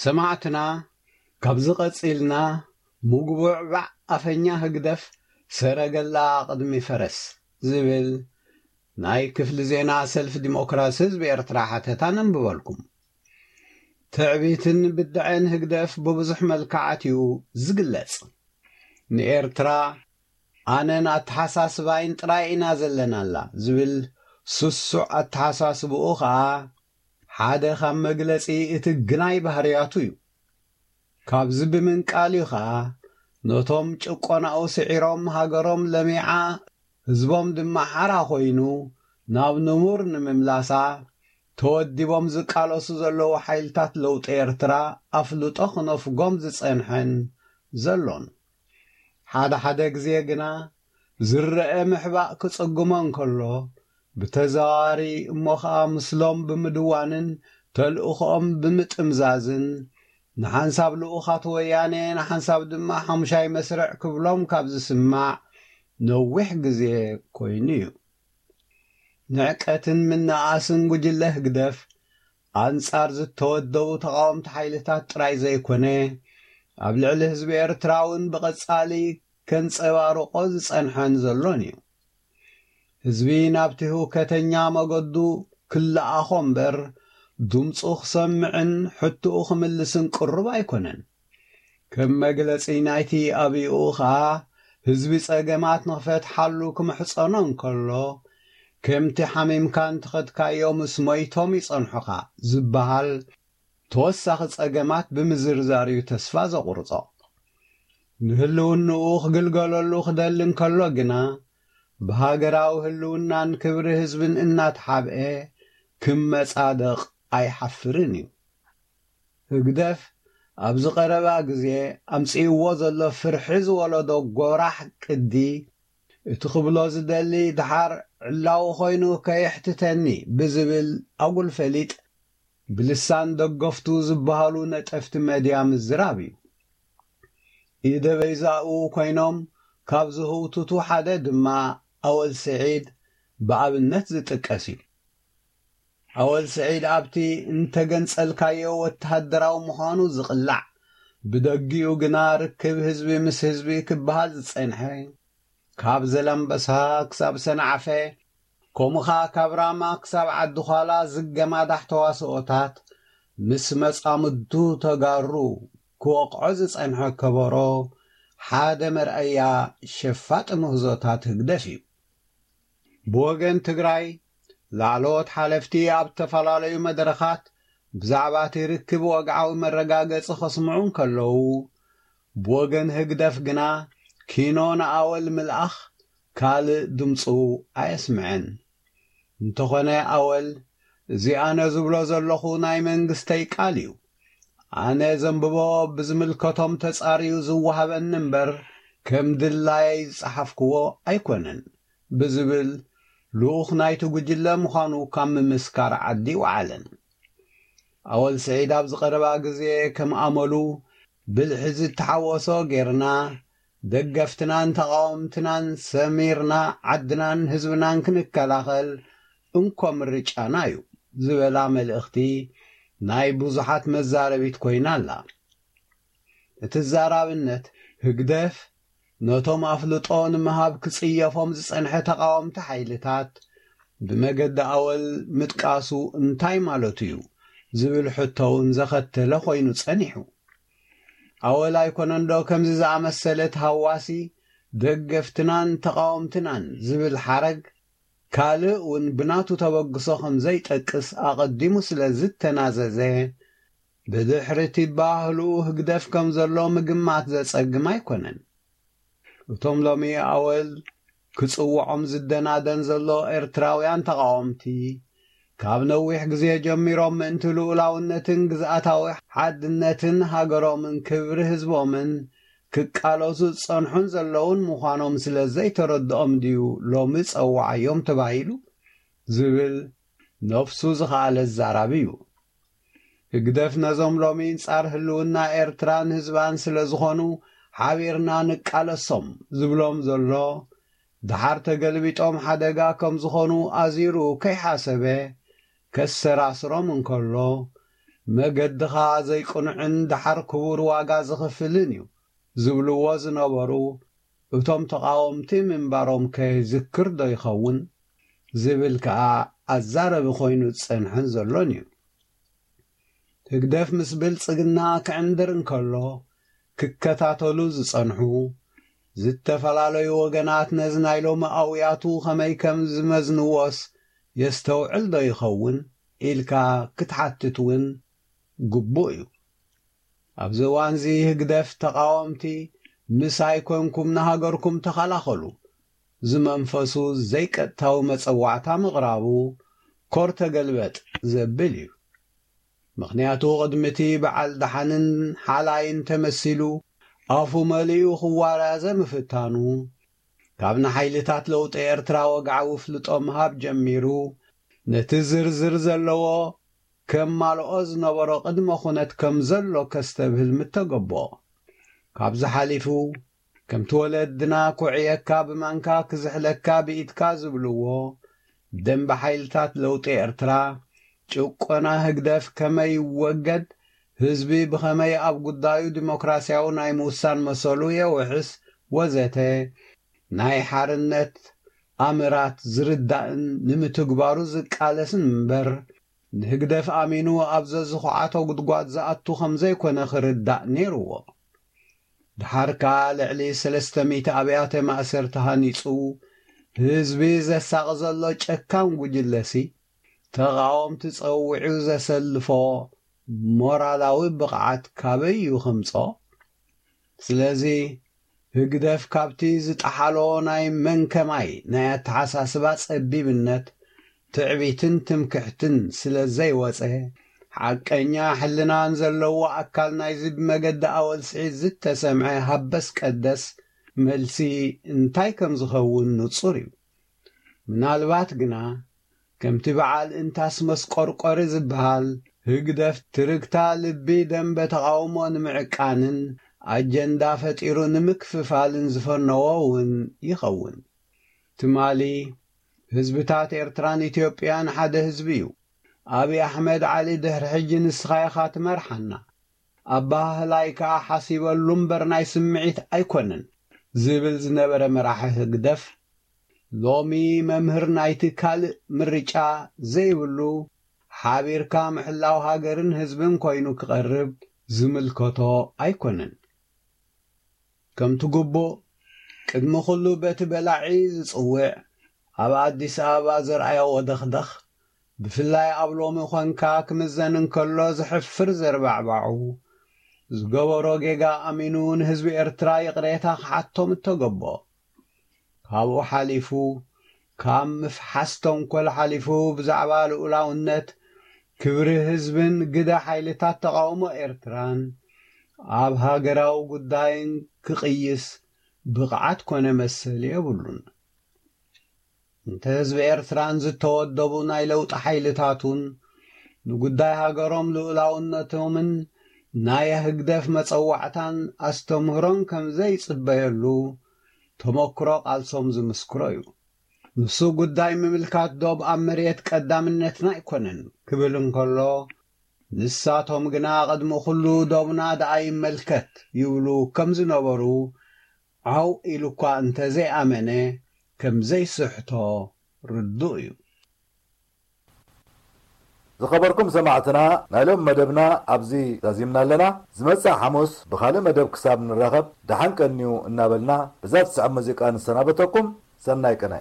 ሰማዕትና፣ ካብዚ ቀጺልና ምጉቡዕ ባዕ ኣፈኛ ህግደፍ ሰረገላ ቅድሚ ፈረስ ዝብል ናይ ክፍሊ ዜና ሰልፊ ዲሞክራሲ ህዝቢ ኤርትራ ሓተታ ነንብበልኩም። ትዕቢትን ብድዐን ህግደፍ ብብዙሕ መልክዓት እዩ ዝግለጽ። ንኤርትራ ኣነን ኣተሓሳስባይን ጥራይ ኢና ዘለናላ ዝብል ስሱዕ ኣተሓሳስብኡ ኸኣ ሓደ ካብ መግለጺ እቲ ግናይ ባህርያቱ እዩ። ካብዚ ብምንቃል እዩ ኸኣ ነቶም ጭቆናኡ ስዒሮም ሃገሮም ለሚዓ ህዝቦም ድማ ሓራ ኮይኑ ናብ ንቡር ንምምላሳ ተወዲቦም ዝቃለሱ ዘለዉ ሓይልታት ለውጢ ኤርትራ ኣፍልጦ ክነፍጎም ዝጸንሐን ዘሎን። ሓደ ሓደ ግዜ ግና ዝረአ ምሕባእ ክጽግሞ እንከሎ፣ ብተዘዋዋሪ እሞ ኸኣ ምስሎም ብምድዋንን ተልእኾኦም ብምጥምዛዝን ንሓንሳብ ልኡኻት ወያነ ንሓንሳብ ድማ ሓሙሻይ መስርዕ ክብሎም ካብ ዝስማዕ ነዊሕ ግዜ ኮይኑ እዩ። ንዕቀትን ምንኣስን ጉጅለ ህግደፍ ኣንጻር ዝተወደቡ ተቓወምቲ ሓይልታት ጥራይ ዘይኮነ፣ ኣብ ልዕሊ ህዝቢ ኤርትራ እውን ብቐጻሊ ከንጸባርቆ ዝጸንሐን ዘሎን እዩ። ህዝቢ ናብቲ ህውከተኛ መገዱ ክለኣኾ እምበር፣ ድምፁ ክሰምዕን ሕትኡ ክምልስን ቅሩብ ኣይኮነን። ከም መግለጺ ናይቲ ኣብኡ ኸኣ፣ ህዝቢ ጸገማት ንኽፈትሓሉ ክምሕጸኖ እንከሎ፣ ከምቲ ሓሚምካ እንተኸድካዮ ምስ ሞይቶም ይጸንሑኻ ዝበሃል ተወሳኺ ጸገማት ብምዝርዛር እዩ ተስፋ ዘቑርጾ። ንህልውንኡ ክግልገለሉ ክደሊ እንከሎ ግና፣ ብሃገራዊ ህልውናን ክብሪ ህዝብን እናተሓብኤ ክመጻደቕ ኣይሓፍርን እዩ። ህግደፍ ኣብዚ ቀረባ ግዜ ኣምጺእዎ ዘሎ ፍርሒ ዝወለዶ ጎራሕ ቅዲ፣ እቲ ክብሎ ዝደሊ ድሓር ዕላዊ ኮይኑ ከየሕትተኒ ብዝብል ኣጉል ፈሊጥ፣ ብልሳን ደገፍቱ ዝበሃሉ ነጠፍቲ መድያ ምዝራብ እዩ። ኢደ በይዛኡ ኮይኖም ካብ ዝህውትቱ ሓደ ድማ ኣወል ስዒድ ብኣብነት ዝጥቀስ እዩ። ኣወል ስዒድ ኣብቲ እንተገንጸልካዮ ወተሃደራዊ ምዃኑ ዝቕላዕ፣ ብደጊኡ ግና ርክብ ህዝቢ ምስ ህዝቢ ክበሃል ዝጸንሐ፣ ካብ ዘላምበሳ ክሳብ ሰንዓፈ፣ ከምኡ ኸኣ ካብ ራማ ክሳብ ዓዲ ዃላ ዝገማዳሕ ተዋስኦታት፣ ምስ መጻምድቱ ተጋሩ ክወቕዖ ዝጸንሐ ከበሮ፣ ሓደ መርኣያ ሸፋጢ ምህዞታት ህግደፍ እዩ። ብወገን ትግራይ፣ ላዕለዎት ሓለፍቲ ኣብ ዝተፈላለዩ መድረኻት ብዛዕባ እቲ ርክብ ወግዓዊ መረጋገጺ ከስምዑ እንከለዉ፣ ብወገን ህግደፍ ግና ኪኖ ንኣወል ምልኣኽ ካልእ ድምፁ ኣየስምዐን። እንተኾነ ኣወል፣ እዚ ኣነ ዝብሎ ዘለኹ ናይ መንግስተይ ቃል እዩ። ኣነ ዘንብቦ ብዝምልከቶም ተጻርዩ ዝወሃበኒ እምበር፣ ከም ድላየይ ዝጸሓፍክዎ ኣይኮነን ብዝብል ልኡኽ ናይቲ ጉጅለ ምዃኑ ካብ ምምስካር ዓዲ ይወዓለን። ኣወል ስዒድ ኣብዚ ቀረባ ግዜ ከም ኣመሉ ብልሒ ዝተሓወሶ ጌርና፣ ደገፍትናን ተቓወምትናን ሰሚርና ዓድናን ህዝብናን ክንከላኸል እንኮ ምርጫና እዩ ዝበላ መልእኽቲ ናይ ብዙሓት መዛረቢት ኮይና ኣላ። እቲ ዛራብነት ህግደፍ ነቶም ኣፍልጦ ንምሃብ ክጽየፎም ዝጸንሐ ተቓወምቲ ሓይልታት ብመገዲ ኣወል ምጥቃሱ እንታይ ማለቱ እዩ ዝብል ሕቶ እውን ዘኸተለ ኮይኑ ጸኒሑ። ኣወል ኣይኮነንዶ ከምዚ ዝኣመሰለ ተሃዋሲ ደገፍትናን ተቓወምትናን ዝብል ሓረግ ካልእ እውን ብናቱ ተበግሶ ከም ዘይጠቅስ ኣቐዲሙ ስለ ዝተናዘዘ፣ ብድሕሪ እቲ ባህልኡ ህግደፍ ከም ዘሎ ምግማት ዘጸግም ኣይኮነን። እቶም ሎሚ ኣወል ክጽውዖም ዝደናደን ዘሎ ኤርትራውያን ተቓወምቲ፣ ካብ ነዊሕ ግዜ ጀሚሮም ምእንቲ ልኡላውነትን ግዝኣታዊ ሓድነትን ሃገሮምን ክብሪ ህዝቦምን ክቃለሱ ዝጸንሑን ዘለውን ምዃኖም ስለ ዘይተረድኦም ድዩ ሎሚ ጸውዓዮም ተባሂሉ ዝብል ነፍሱ ዝኸኣለ ዛራቢ እዩ። ህግደፍ ነዞም ሎሚ ጻር ህልውና ኤርትራን ህዝባን ስለ ዝኾኑ ሓቢርና ንቃለሶም ዝብሎም ዘሎ፣ ድሓር ተገልቢጦም ሓደጋ ከም ዝኾኑ ኣዚሩ ከይሓሰበ ከሰራስሮም እንከሎ፣ መገድኻ ዘይቅኑዕን ደሓር ክቡር ዋጋ ዝኽፍልን እዩ ዝብልዎ ዝነበሩ እቶም ተቓወምቲ ምንባሮም ከ ይዝክር ዶ ይኸውን? ዝብል ከኣ ኣዛረቢ ኮይኑ ዝጸንሐን ዘሎን እዩ። ህግደፍ ምስ ብልጽግና ክዕንድር እንከሎ ክከታተሉ ዝጸንሑ ዝተፈላለዩ ወገናት ነዚ ናይ ሎሚ ኣውያቱ ከመይ ከም ዝመዝንዎስ የስተውዕል ዶ ይኸውን ኢልካ ክትሓትት እውን ግቡእ እዩ። ኣብዚ እዋንዚ ህግደፍ ተቓወምቲ ምሳይ ኮንኩም ንሃገርኩም ተኸላኸሉ ዝመንፈሱ ዘይቀጥታዊ መጸዋዕታ ምቕራቡ ኮር ተገልበጥ ዘብል እዩ። ምኽንያቱ ቅድሚ እቲ በዓል ደሓንን ሓላይን ተመሲሉ ኣፉ መሊኡ ክዋራዘ ምፍታኑ ካብ ንሓይልታት ለውጢ ኤርትራ ወግዓዊ ፍልጦ ምሃብ ጀሚሩ ነቲ ዝርዝር ዘለዎ ከማልኦ ዝነበሮ ቅድመ ኩነት ከም ዘሎ ከስተብህል ምተገቦ። ካብዚ ሓሊፉ ከምቲ ወለድና ኩዕየካ ብማንካ ክዝሕለካ ብኢድካ ዝብልዎ ደንበ ሓይልታት ለውጢ ኤርትራ ጭቆና ህግደፍ ከመይ ይወገድ፣ ህዝቢ ብኸመይ ኣብ ጉዳዩ ዲሞክራሲያዊ ናይ ምውሳን መሰሉ የውሕስ ወዘተ ናይ ሓርነት ኣምራት ዝርዳእን ንምትግባሩ ዝቃለስን እምበር ንህግደፍ ኣሚኑ ኣብ ዘዝኹዓቶ ጉድጓድ ዝኣቱ ከም ዘይኮነ ክርዳእ ነይርዎ። ድሓር ከኣ ልዕሊ ሰለስተ ሚእቲ ኣብያተ ማእሰርቲ ሃኒጹ ህዝቢ ዘሳቒ ዘሎ ጨካን ጉጅለሲ ተቓወምቲ ጸዊዑ ዘሰልፎ ሞራላዊ ብቕዓት ካበይ እዩ ከምጾ? ስለዚ ህግደፍ ካብቲ ዝጠሓሎ ናይ መንከማይ ናይ ኣተሓሳስባ ጸቢብነት ትዕቢትን ትምክሕትን ስለ ዘይወጸ ሓቀኛ ሕልናን ዘለዎ ኣካል ናይዚ ብመገዲ ኣወል ስዒድ ዝተሰምዐ ሃበስ ቀደስ መልሲ እንታይ ከም ዝኸውን ንጹር እዩ። ምናልባት ግና ከምቲ በዓል እንታስ መስቆርቆሪ ዝበሃል ህግደፍ ትርግታ ልቢ ደንበ ተቓውሞ ንምዕቃንን ኣጀንዳ ፈጢሩ ንምክፍፋልን ዝፈነዎ እውን ይኸውን። ትማሊ ህዝብታት ኤርትራን ኢትዮጵያን ሓደ ህዝቢ እዩ። ኣብይ ኣሕመድ ዓሊ ድሕሪ ሕጂ ንስኻ ኢኻ ትመርሓና፣ ኣበሃህላይ ከኣ ሓሲበሉ እምበር ናይ ስምዒት ኣይኮነን ዝብል ዝነበረ መራሒ ህግደፍ ሎሚ መምህር ናይቲ ካልእ ምርጫ ዘይብሉ ሓቢርካ ምሕላው ሃገርን ህዝብን ኮይኑ ክቐርብ ዝምልከቶ ኣይኮነን። ከምቲ ግቡእ ቅድሚ ኩሉ በቲ በላዒ ዝጽውዕ ኣብ ኣዲስ ኣበባ ዘርኣዮ ወደኽደኽ ብፍላይ ኣብ ሎሚ ኮንካ ክምዘን እንከሎ ዘሕፍር ዘርባዕባዑ ዝገበሮ ጌጋ ኣሚኑ ንህዝቢ ኤርትራ ይቕሬታ ክሓቶም እተገቦ። ካብኡ ሓሊፉ ካብ ምፍሓስ ተንኮል ሓሊፉ ብዛዕባ ልኡላውነት ክብሪ ህዝብን ግደ ሓይልታት ተቓውሞ ኤርትራን ኣብ ሃገራዊ ጉዳይን ክቕይስ ብቕዓት ኮነ መሰል የብሉን። እንተ ህዝቢ ኤርትራን ዝተወደቡ ናይ ለውጢ ሓይልታቱን ንጉዳይ ሃገሮም ልኡላውነቶምን ናይ ህግደፍ መጸዋዕታን ኣስተምህሮን ከም ዘይጽበየሉ ተመክሮ ቃልሶም ዝምስክሮ እዩ። ንሱ ጉዳይ ምምልካት ዶብ ኣብ መሬት ቀዳምነትና ኣይኮነን ክብል እንከሎ ንሳቶም ግና ቅድሚ ኩሉ ዶብና ደኣ ይመልከት ይብሉ ከም ዝነበሩ ዓው ኢሉ እኳ እንተዘይኣመነ ከም ዘይስሕቶ ርዱእ እዩ። ዝኸበርኩም ሰማዕትና ናይ ሎም መደብና ኣብዚ ዛዚምና ኣለና። ዝመጽእ ሓሙስ ብኻልእ መደብ ክሳብ ንራኸብ ደሓን ቀንዩ እናበልና ብዛ ትስዕብ ሙዚቃ ንሰናበተኩም። ሰናይ ቅነ።